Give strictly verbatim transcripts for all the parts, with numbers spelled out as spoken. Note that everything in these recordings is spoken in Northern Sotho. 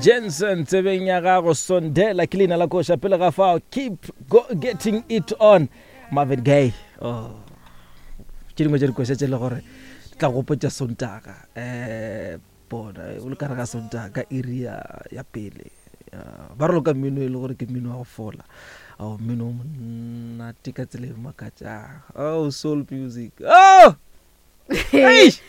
Jensen tsebeng ya gago Sondela ke leina la koša pele ga fao keep go, getting it on Marvin Gaye. Oh tše dingwe tša dikoša tše le gore di tla gopotša Sontaga um bona o le ka re ga Sontaga ka iri ya, ya pele. Ba raloka mmino e le gore ke mmino wa go fola, ao mmino o monate ka tsela e makatšang. Oh, soul music, oh! Eish!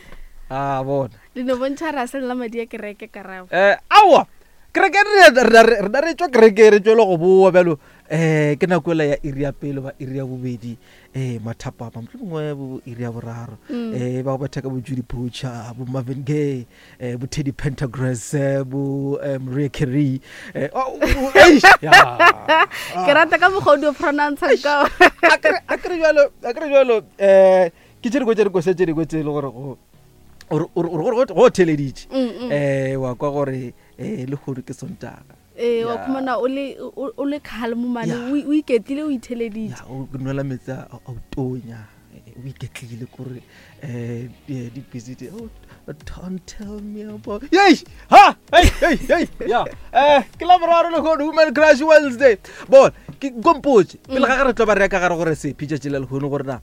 A bona le no bontšha ra se la madi a kereke karabo. Eh, aowa, kereke re re re tswa kereke re tswele go boa bjalo. um ke nako ela ya iri ya pele ba iri ya bobedi, um mathapama mohlomongwe bo iri ya boraro, um ba go betha ka bo Judy Butcher, bo Marvin Gaye, um bo Teddy Pendergrass, eh, bo eh, Maria Carey. eh, oh, oh, eish, ya. Ke rata ka mokgwa o di o pronounce ka. A kere jalo, a kere jalo, um ke tše dingwe tša dikoša tše dingwe tse e le gore go o re- o re- go theleditše um wa kwa gore um lehono ke Sontaga. Ee, wa Ya. khumana o le o o le calm mane, Ya. o o iketlile, o itheleditše. Ya, o nwela metsi a a o tonya, eh, o iketlile kore um di-busy di- oh, don't tell me about yei ha hey hey hey ya. um ke la boraro lehono, Woman Crush Wednesday. Bona ke kompotse pele ga ge re tlo ba re ya ka gare gore sephi tšatši la lehono gore na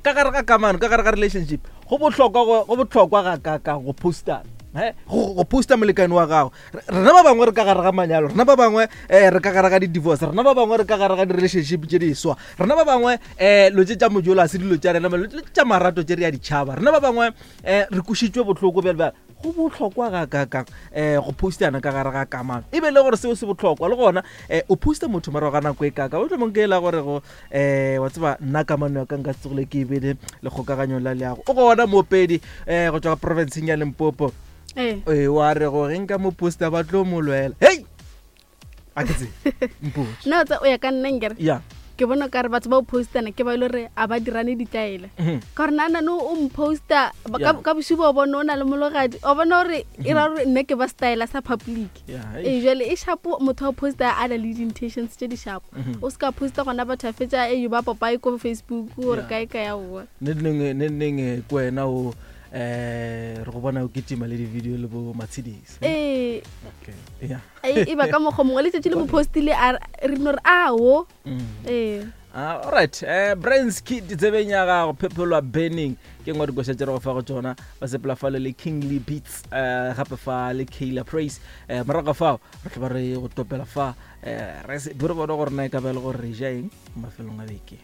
ka gare ga kamano, ka gare ga relationship, go bohlokwa go go bohlokwa ga ka ka go postana, he go go posta molekane wa gago. Re- rena ba bangwe re ka gare ga manyalo, rena ba bangwe um re ka gare ga di-divorce, rena ba bangwe re ka gare ga di-relationship tše diswa, rena ba bangwe um lo tše tša mojola se dilo tša rena, lo tše tša marato tše re ya ditšhaba, rena ba bangwe um re kwešišitšwe bohloko bjale bjale. Go bohlokwa ga kakang um go postana ka gare ga kamano, e be le gore seo se bohlokwa le gona um o posta motho morago ga nako e kaka o tlomong ke e la gore go um wa tseba nna kamano ya ka nka se tsogile ke e bele le kgokaganyo la leago. O gona moopedi um go tswa ka provinceng ya Limpopo. Ee. Ee, wa re go ge nka mo posta ba tlo mo lwela. Hei, a ke tsebe, mpotse. Nna o tsa o ya ka nna nkere ya ke bona ka re batho ba o postana ke ba ile gore a ba dirane ditlaela, Mhm. ka gore nna nane o mposta ba- ka Yeah. ka bosigo o bone o na le mologadi, o bona gore e ra gore nna ke ba style sa public. Ya, ee, jale e shapo motho wa posta a na le di-intentions tse di shapo. Mhm. O se ka posta gona batho a fetsa e ba papae ko Facebook gore Yeah. kae kae aowa. Ne neng ne neng eh, ke wena o um re go bona o kitima le di-video le bo Matshedise. Ee. Okay, ya. E e ba ka mokgwa mongwe letšatši le mo postile a re no re ao. Mm. Ee. Ah, alright, eh Brains Kid tsebeng ya gago phephelwa burning ke ngwe dikoša tše re go fa go tšona, ba sepela fale le Kingly Beats, eh gape fa le Kayla Praise. eh morago ga fao re tlo ba re go topela fa eh re se re bone gore na e ka ba e le gore re ja eng mafelong a beke.